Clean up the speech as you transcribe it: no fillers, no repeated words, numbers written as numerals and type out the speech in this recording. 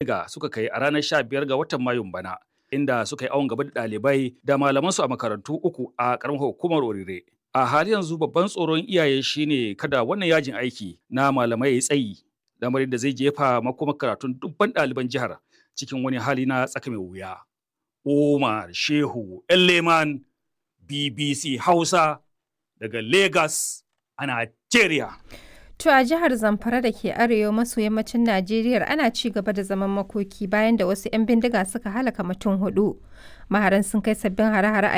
Bindiga suka kai a ranar 15 ga watan Mayun bana, inda suka yi awon gaba da ɗalibai da malamansu a makarantu uku a ƙaramar hukumar Orire. A halin yanzu babban tsoron iyaye shine kada wannan yajin aiki na malamai ya yi tsayi, lamarin da zai jefa makomar karatun dubban ɗaliban jihar cikin wani hali na tsaka mai wuya. Umar Shehu Elleman, BBC Hausa, daga Lagos a Najeriya. To a jihar Zamfara da ke arewa maso yammacin Najeriya ana ci gaba da zaman makoki bayan da wasu 'yan bindiga suka halaka mutum hudu. Maharan sun kai sabbin hare-hare a